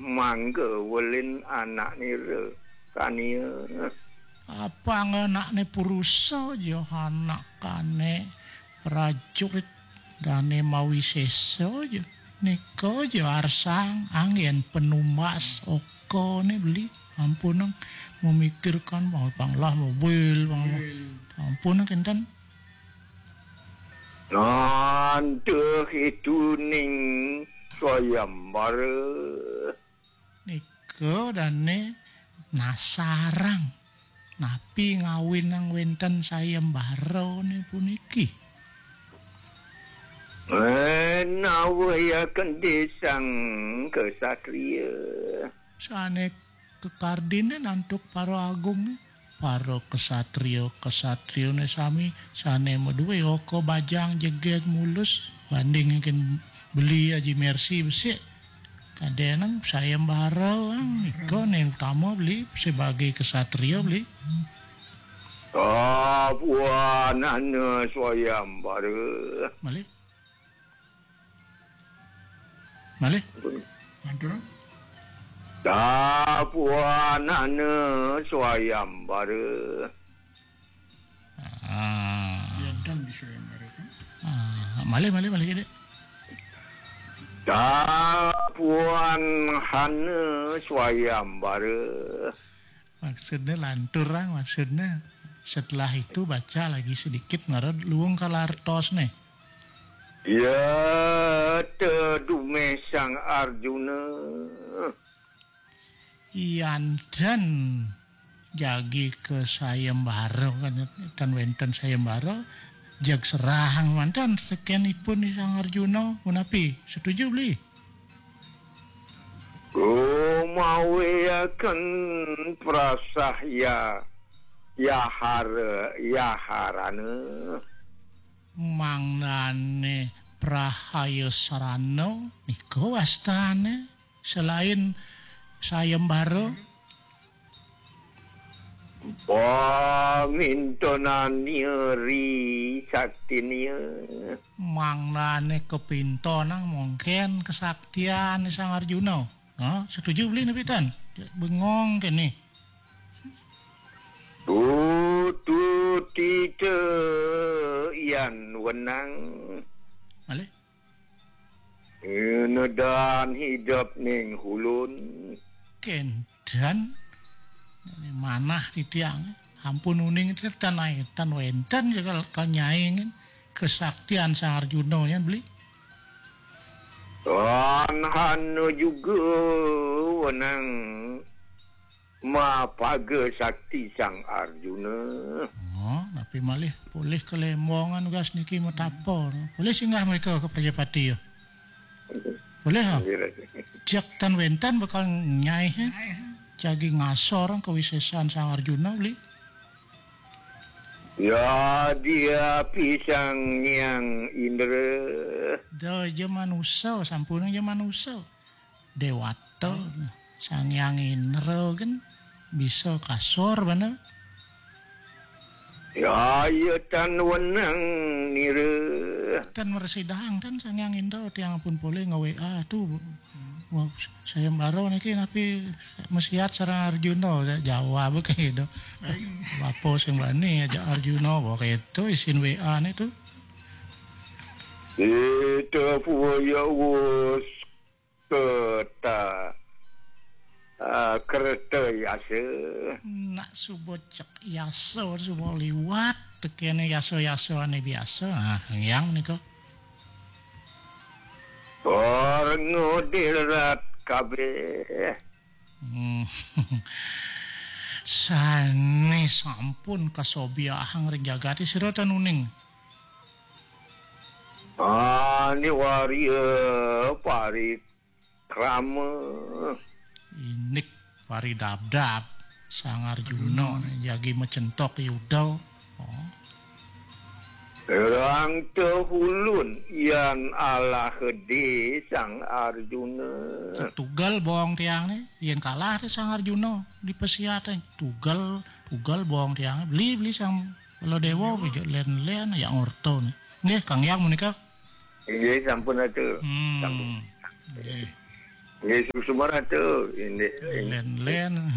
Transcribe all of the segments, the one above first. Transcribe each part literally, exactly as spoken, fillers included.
Mangga welin anak nira kania. Apang anakne purusa ja anak kane prajurit dane mawisesa ja. Nika ja arsang anggen penumbas okane beli. Ampunang memikirkan mau panglah mobil, pang-, ampunang kenten. Nantuh itu ning sayembara. Nika dane nasarang. Napi ngawinang wenten sayembarane puniki? Menawi kendisang kesatria. Sane kekardine nantuk para agung, para kesatria-kesatriane sami sane madue oka bajang jeget mulus banding ingkang beli Aji Mersi besik. Kadenang sayembara, ang nika ne utama beli sebagai kesatria beli. Kapuanana sayembara. Malih. Malih. Mantul. Kapuanana sayembara. Ah. Enten di sayembara kan? Ah, malih, malih, malih, Dik. Kapuanana sayembara. Maksudnya lantur, ang, maksudnya. Setelah itu baca lagi sedikit, ngarep luung kalartos nih. Ya, tedumeh Sang Arjuna. Yanten jagi ke sayembara kan, tan wenten sayembara, jag serahang manten sekenipun Sang Arjuna, punapi? Setuju beli? Kumawiaken prasah ya, yahara, yaharana. Mangdane prahaya sarana nika wastane selain sayembara. Pamintonania ri saktinia. Mangdane kepintonang mungkin kesaktian Sang Arjuna. Ha, setuju beli napi tan? Bengong kene. Tututita yan wenang. Malih? Nedan hidep ning hulun. Kenten. Manah titiang. Ampun uning tetan ai, tan wenten jegal kanyai kesaktian Sang Arjuna nya beli. Tan hana juga wenang mapaga sakti Sang Arjuna. Oh, tapi malih polih kalembongan gas niki matapa. Polih singgah mereka ke Prajapati ya. Boleh, ha? Nggih, Raden. Cek tan wenten bakal nyai, he? Jagi ngasor kawisesan Sang Arjuna, beli. Ya, dia pisang yang Indra. Da ja manusa, sampun ja manusa. Dewata, Sang Hyang Indra kan bisa kasor bener. Ya, iya tan wenang nira. Tan meresidang tan Sang Hyang Indra tiang pun boleh nge-W A tuh. Wah, sayembara niki napi mesiat sareng Arjuna, jawab kayak gitu. Bapak sing bani aja Arjuna, wah kayak itu isin W A nih tuh. Itu puya wus keta, ah, kereta yasa. Nak suba cek yasa, suba liwat, tekene yasa-yasa ane biasa. Ah, yang nika. Orang ngodirat kabeh. Hmm. Sane sampun kasobiahang ring jagate sira tan uning. Ane waria parikrama. Inik paridabdab Sang Arjuna jagi macentok Yuda. Oh. Rang tehulun yan alah gede Sang Arjuna. Tugal bong tiang ne, yen kalah te Sang Arjuna di pesiat, eh. Tugal, tugal bong tiang. Beli, beli Sang Baladewa, bejo len-len, ya ngorto ne. Nggih, Kang Yang menika. Nggih, sampun atuh. Hmm. Sampun. Nggih. Nggih, suksma Ratu. Indik, indik Len-len.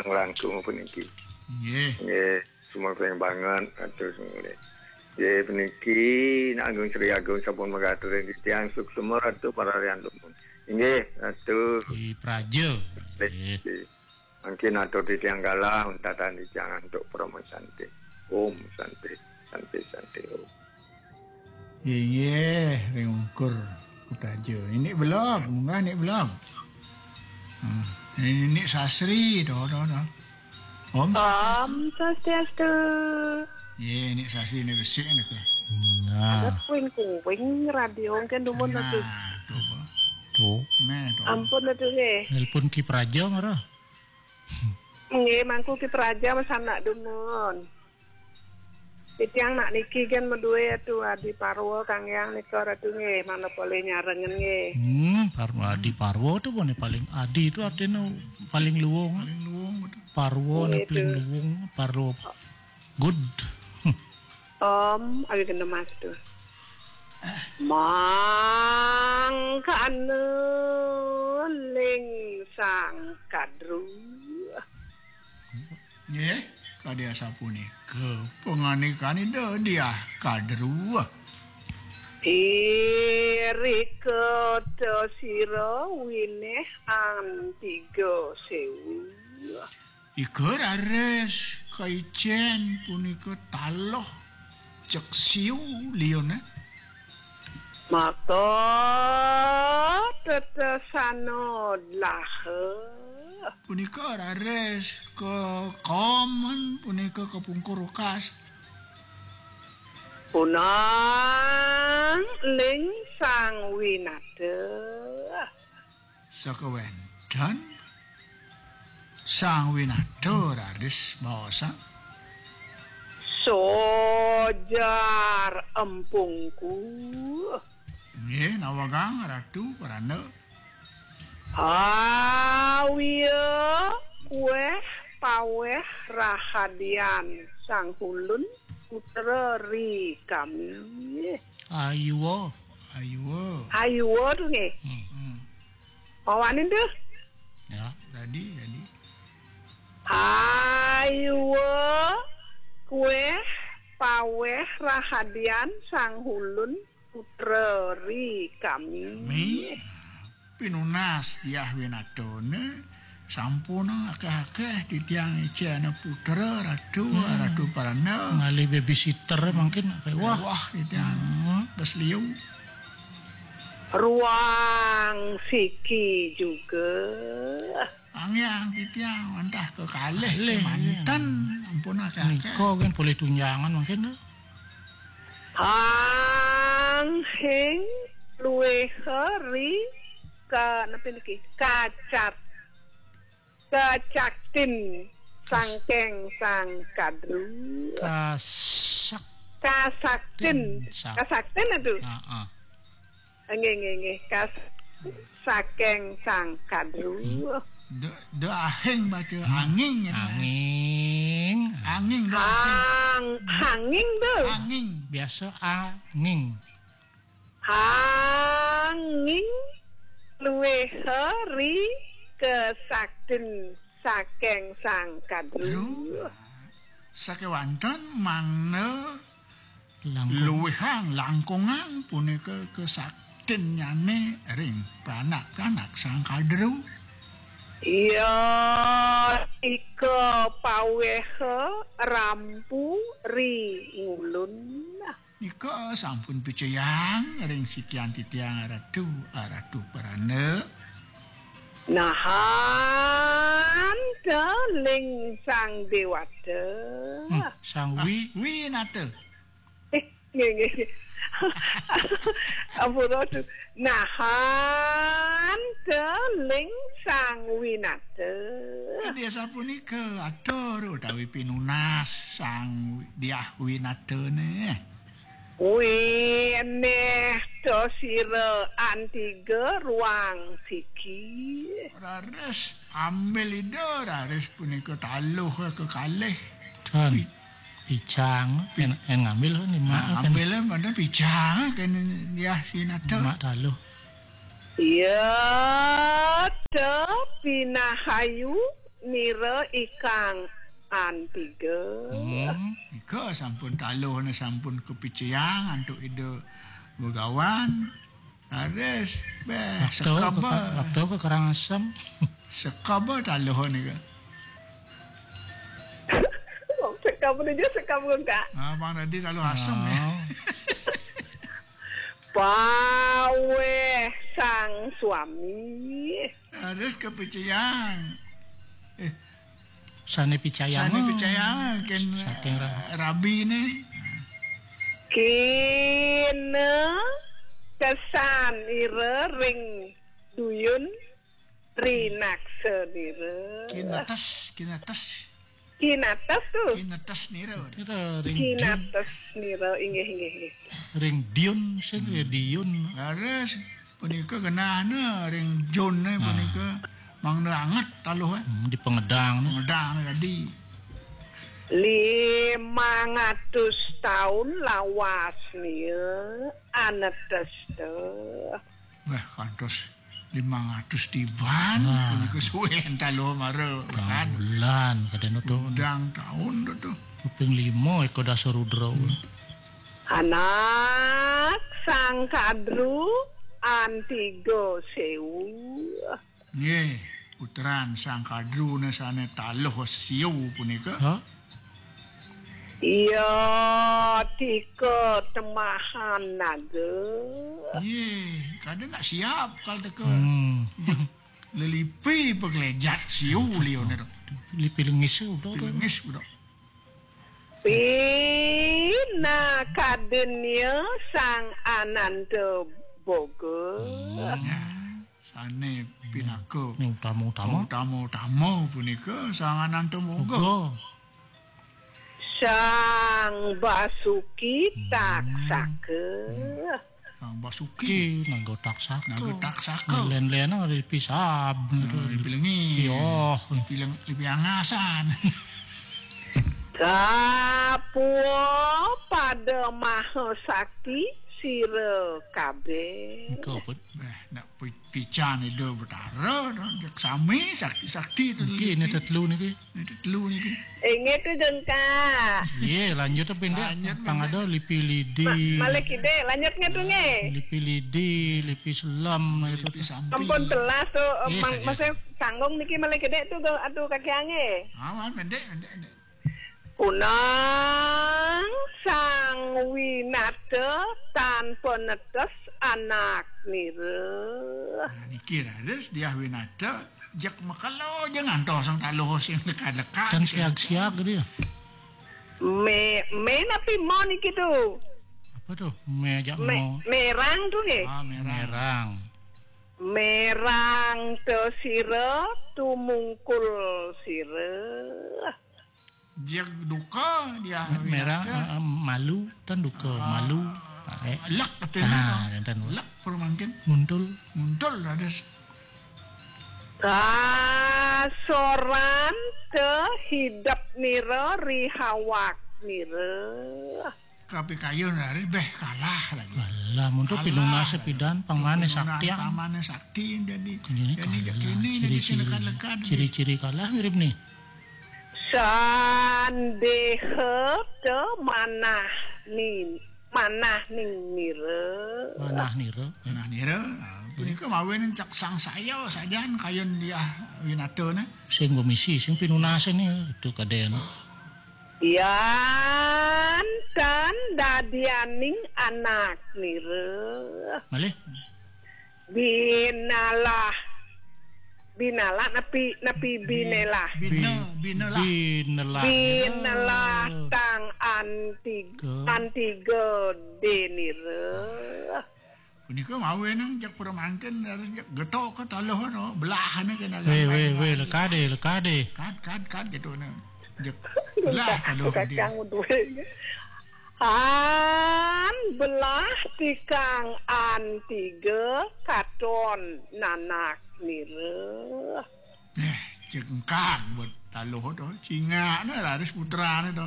Langkung puniki. Nggih. Nggih, suksma banget Ratu sing nggih. Nggih, puniki Agung Sri Agung sampun mekaten titiang, suksma Ratu pararian dumun. Inggih, Ratu. Ki Praja. Nggih. Nggih. Mangkin atur titiang galah, untatan titiang antuk Parama Santi. Om Santi, Santi, Santi, Om. Inggih, ring ungkur Kutaja. Ini belog, munggah ini belog. Hmm. Ini Sasri, to, to, to. Om Sasri. Om Swastiastu. Nggih, ini Sasri, ini besik nika. Nah. Ada kuing-kuing radio kan dumun. Nah, nika. Tuh, Pak. Tuh. Nah, tuh. Ampun, aduh, nggih. Nelpon Ki Praja, marah. Nggih, mangku Ki Praja, mas anak dumun. Titiang nak niki kan madué Ratu Adi Parwa, Kang Yang nika Ratu nggih, manapa le nyarengen nggih. Hmm, Parwa, Adi Parwa tu mana paling, Adi tu artinya paling luwung. Paling luwung, betul. Parwa. Nggih, paling tu. Luwung, Parwa. Good. Om, awi kena mas tu. Mangkana ling sang kadru. Nggih, kadi asapunika pangandikan Ida Diah Kadru. Irika ta sira winih antiga sewu. Ika raris kaicén punika taluh cek siu liuné. Maka tetesana dlaha. Punika raris kakomen punika kapungkur wekas. Punang ling sang winata. Sakawénten sang winata raris maosang. Sojar empungku. Nggih, nawegang Ratu Prana. Awiya kuéh pawéh rahadian sang hulun putra ri kami. Ayuwa. Ayuwa. Ayuwa tu nggih. Hmm. Hmm. Mawanin tu. Ya. Dadi, dadi. Ayuwa kuéh pawéh rahadian sang hulun putra ri kami. Mi, pinunas Diah Winatone, sampun akéh-akéh titiang icén putra Ratu, hmm. Ratu Prana. Ngalih babysitter mangkin, wah. Wah, titiang. Hmm. Bes liu. Ruang siki juga. Angiang titiang wantah kekalih. Kalih, manten, iya. Ampun akéh-akéh. Nika kan polih tunjangan mangkin. Anghing luwih ri ka-, napa niki? Kacat-, kacaktin sangking sang kadru. Kasak-, kasaktin. Sak-, kasaktin itu. Heeh. Nggih, nggih, nggih. Kas-, saking sang kadru. Hmm. De, de ahing baca, hmm. Anging, ya, anging. Anging, de ahing. Ang-, hanging tu. Anging. Biasa anging. Hanging luwih ri kesaktin saking sang kadru. Kadru. Sakéwanten mangda langkung. Luwihang langkungang punika kesaktinnyané ring panak-panak sang kadru. Iya, ika pawéha rampu ri ngulun. Nika sampun picayang ring sikian titiang Ratu, Ratu Prana. Nahan ta ling sang déwata. Hmm, sang wi-, ah, winata. Eh, nggih, nggih. Ampun, aduh. Nahan ta ling sang winata. Kadi sapunika atur utawi pinunas sang Diah Winatane. Winih to sira antiga ruang siki. Raris ambil Ida, raris punika taluh kekalih. Tan. Pi-, picang, pi-, en, en ngambil ni, nah, mak, kan. Ambil, kan, picang, kan, ya, si Nata. Mak taluh. Iya, te pinahayu nira ikang antiga. Hmm, nika sampun taluhna sampun kapicayang antuk Ida Begawan. Raris, beh, waktu sekaba. Ke, waktu ke Karangasem. Sekaba taluh nika. Sekaba dia sekaba, Kak. Ah, Bang tadi taluh asem ya. Oh. Paweh sang suami. Harus kepicayang. Eh, sane picayang. Sane picayang, ken, saking ra- eh, rabi ne. Kina kesan ira ring duyun rinaksa nira. Kinetes, kinetes. Kinates tu. Kinetes nira. Nira ring duyun. Kinates nira, inggih, inggih, inggih. Ring duyun, sing ya duyun. Leres, punika genahna ring duyun, eh, punika mangda anget taluh, eh. Hmm, di pangedang, eh. Pangedang tadi. Limang atus taun lawas nia anetes te. Wah, kantos limang atus tiban, punika suwe taluh mara. Bulan, kadang tu. Undang taun tu, tu. Kuping lima, Eka Dasa Rudra. Hmm. Anak Sang Kadru antiga sewu. Nggih, putran Sang Kadru ne sane taluh sewu punika. Ha? Iya, tika temahan naga. Nggih, kada nak siap kal teka. Hmm. Lelipi pegelejat siu liu ne tu. Lipi lengis tu. Lipi lengis tu. Pinakadinnya Sang Ananta Boga. Hmm. Ya. Sane pinaka. Ning utama-utama. Utama-utama punika Sang Ananta Moga. Moga. Sang Basuki, hmm, Taksaka. Sang Basuki. Ki, Naga Taksaka. Naga Taksaka. Len-len ada di pisab. Nah, gitu. Di pilengi. Iya. Di pileng, di piangasan. Kapua pada Maha Sakti sira kabeh. Engko pun. Eh, nak pi-, pican Ida Betara, jak sami sakti-sakti tu. Niki, ini tetelu niki. Ini tetelu niki. Inggih tu, Jengka. Iya, lanjut apa indah? Lanjut, pang ada lipi lidi. Ma-, malih kidek, lanjut nggih tu nggih. Lipi lidi, lipi selam, lipi itu. Sampi. Ampun telas tu, eh, mang-, saja. Maksudnya sanggung niki malih kidek tu, aduh kaki angge. Aman, mendek, mendek, mendek. Punang Sang Winata tan penetes anak nira. Nah, niki raris Diah Winata, jak makelo ja ngantos sang taluh sing lekad-lekad. Kan gitu. Siag-siag dia. Me, me napi mo niki tu? Apa tu? Me ajak me, mo. Merang tu nggih? Ah, merang. Merang. Merang te sira, tumungkul sira. Dia duka, dia merah, winata. Eh, eh, malu, tan duka, ah, malu. Ah, eh. Lek, katanya, ah, kan, tan. Lek, permangkin. Muntul. Muntul, ada s-, kasoran te hidep nira rihawak nira. Kapikayun hari beh kalah lagi. Alah, mun tu kalah pinunas lagi. Pidan, pang mane sakti, pang mane sakti jadi. Jadi kalah. Kini, jadi ciri-ciri, ciri-ciri kalah mirip ni. Sandeha te manah ni, manah ning nira. Manah nira. Manah nira. Nah, punika mawin cak sang saya sajan kayun dia winata ne. Sing bemisi, sing pinunas ni, tu kaden. Yan tan dadianing anak nira. Malih? Binalah. Binalah napi, napi bi-, binelah? Bina, bi-, binelah. Binelah. Binelah tang antiga, ke? Antiga denira. Punika mawinang jak pramangkin, harus jak getok ke taluh no, belah ne kena. Weh, weh, weh, lekade, lekade. Kad, kad, kad gitu ne. Jak belah taluh dia. Kacang duwe. Han belah tikang antiga katon nanak nira. Eh, cengkang buat taluh tu. Cingak ne raris putra ne tu.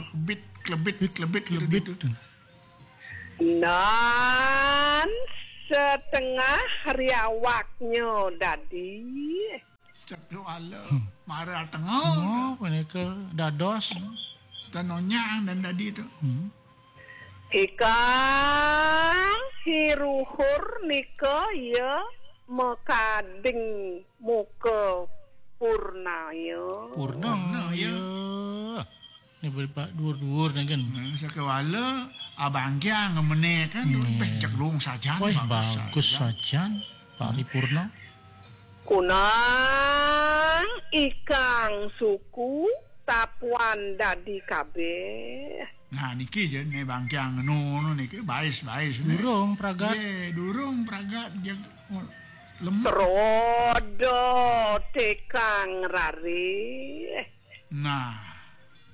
Kebit, kelebit, kelebit, kelebit tu. Nan tetengah riawaknya dadi. Cekewala. Hmm. Mara tengah. Oh, punika dados. Tenonyang dan dadi tu. Hmm. Ikang hiruhur nika ya makading muka purnaya. Purna, purna ya. Ya. Ni beripak dur-dur ni kan. Hmm, sakewala abang kiang ngemene kan, hmm, beh, cek lung sajan, wah, bagus, bagus sajan. Sajan, paripurna. Kunang ikang suku tapuan dadi kabeh. Nah, niki je, ni bang kiang ngono niki, bais-bais ni. Durung pragat. Ye, durung pragat, je, lemak. Trodo tekang rare. Nah,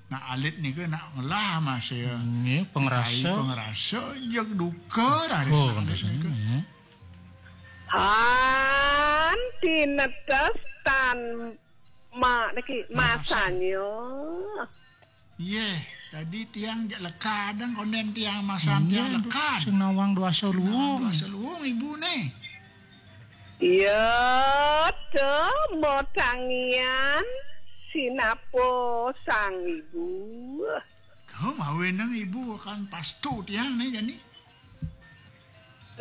nak alit nika nak ngelah masih. Nggih, pangrasa. Kai pangrasa, jeg duka raris. Oh, nak alit pangrasa nika. Nggih. Han tinetes tan ma-, niki, masanya. Masanya. Yeh, tadi tiang jak lekad, dan konden tiang masan tiang lekad. Sing nawang duasa luung. Nawang duasa luung, ibu ni. Iya, te motangian sinapa sang ibu. Kau mawe nang ibu kan pastu tiang ni jani.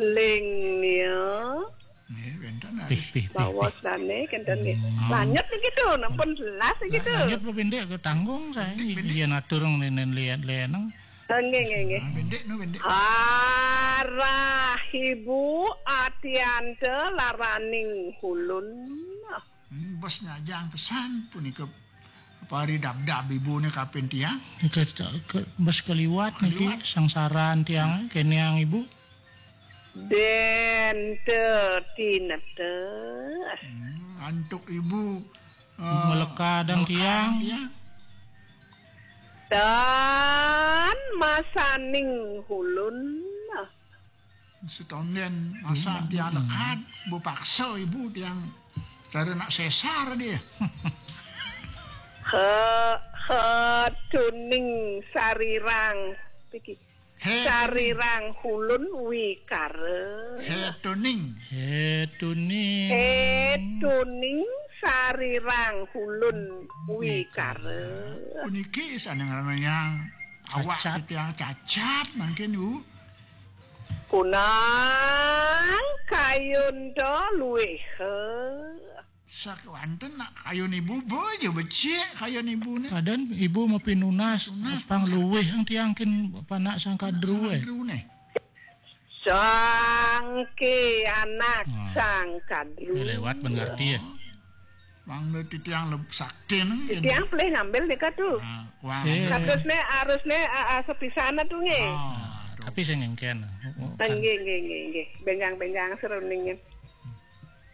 Ling nia. Nggih, wenten. Pih, pih, pih, bawas pih. Dane kenten nggih. Hmm. Lanjut niki tu, nampun jelas niki tu. Lanjut, Pak Bendik, ke tanggung saya. Bendik, Bendik. Iya, natur ngene lian-lian. Nggih, nggih, nggih. Ah, Bendik, nu Bendik. Arah ibu atiante laraning hulun. Hmm, bos nyajang pesan punika pari dab-dab ibu ni kapin tiang. Ke, ke, bos keliwat niki. Keliwat. Sangsaran tiang, keniang ibu. Dente tinetes. Hmm, antuk ibu, eh, melekadang melekadang tiang. Tiang. Dan masaning hulun. Setonden masan tiang lekad, bu paksa ibu tiang cara nak sesar dia. He, he tuning sarirang. Iki. He sarirang hulun wikara. He tuning. He tuning. He tuning sarirang hulun wikara. Puniki sane ngaranang awak cacat. Titiang cacat mangkin, Bu. Kunang kayun to luih. Sakewanten nak kayun ibu, bojo becik kayun ibu ni. Padan ibu mapinunas, nunas pang luwih ang tiang kin panak sangkadru, eh. Sangkadru ni. Sangke anak, ah, sangkadru. Eh, lewat ben ngerti ya. Wang ni titiang leb-, sakti nang. Titiang pelih ngambil nika tu. Ah, wang. Sih. Harus ni, harus ni, ah, ah, sepisan tu nggih. Ah, tapi sing engken. Nggih, nggih, nggih, nggih. Benjang-benjang seruning.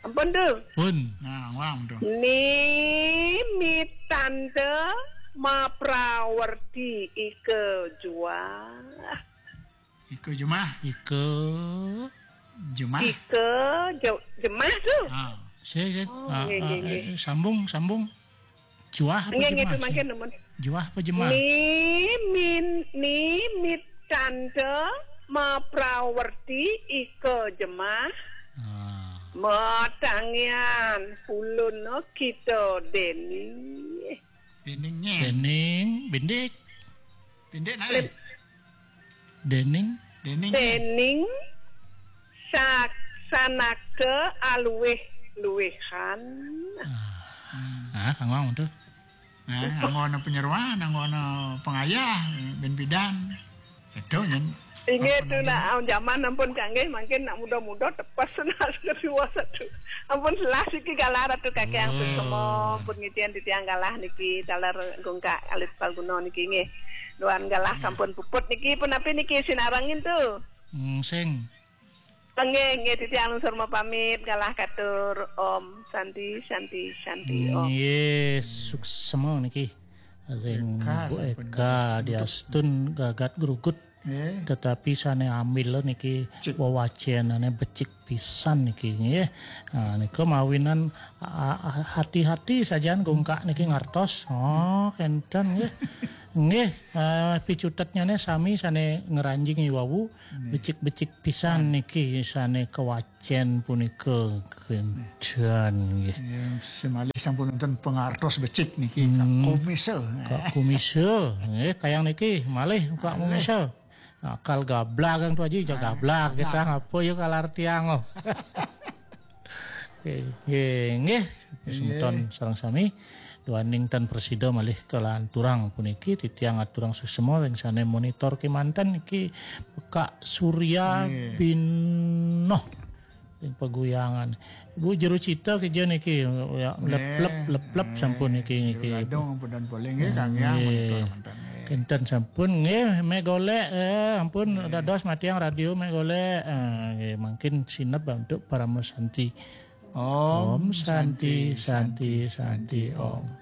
Ampun tu. Pun. Nah, wang tu. Nimitante maprawerti ika juah. Ika jemah. Ika jemah. Ika je-, jemah tu. Ha. Saya, saya, oh, ah, nggih, ah, nggih, nggih. Eh, sambung, sambung. Juah apa jemah? Nggih, nggih, tu mangkin nemen. Juah apa jemah? Ni min, ni mitanta maprawerti ika jemah. Ah. Matangian ulun kita deni. Dening nyen. Dening bindik. Bindik nae. Dening. Dening nyen. Dening sak-, sanakta aluih-luihan. Ah. Hmm. Ah, kanggo tu. Nah, anggo ana panyeroan, anggo ana pangayah, ben pidan. Itu nyen. Inggih tu nak, ah, jaman ampun kanggih, mangkin nak muda-muda tepes nak kedua satu. Ampun selah siki galah Ratu Kakek ampun, oh, semua, ampun ngitian titiang galah niki, taler gungkak alit palguna niki nggih. Duan galah sampun puput niki, pun api niki sinarengin tu. Hmm, sing. Nggih, nggih, titiang lungsur mapamit, galah katur. Om Santi, Santi, Santi, Om. Nggih, suksema niki. Ring Eka, Bu sampun Eka, dados diastun gagat grugut. Nggih. Tetapi sane ambil niki, cik, wewacenane becik pisan niki, nggih. Nah, nika mawinan, a-, a-, hati-hati sajan gungkak niki ngartos. Oh, kenten nggih. Nggih, eh, picutetnyané sami sané ngranjing i wau, becik-becik pisan niki sané kawacén punika kénten nggih. Ya, semalih sampun wonten pangartos becik niki, Kak Komisa. Kak Komisa, nggih, kayang niki malih Kak Komisa. Akal gablag yang tu aja, gablag kita ngapa ya kalar tiang oh. Oke, nggih, nggih. Semeton sareng sami. Duaning tan prasida malih kalanturang puniki titiang aturang suksma ring sané monitor kémanten niki Kak Surya Binoh ring paguyangan. Bu jero cita kija niki ya, lep lep lep lep sampun niki niki. Gadung ampun dan polih nggih kang ya monitor manten. Nggih. Kinten sampun nggih meh golek eh ampun dados matiang radio meh golek. Eh, nggih mangkin sineb untuk Parama Santi. Om Santi Santi Santi Om.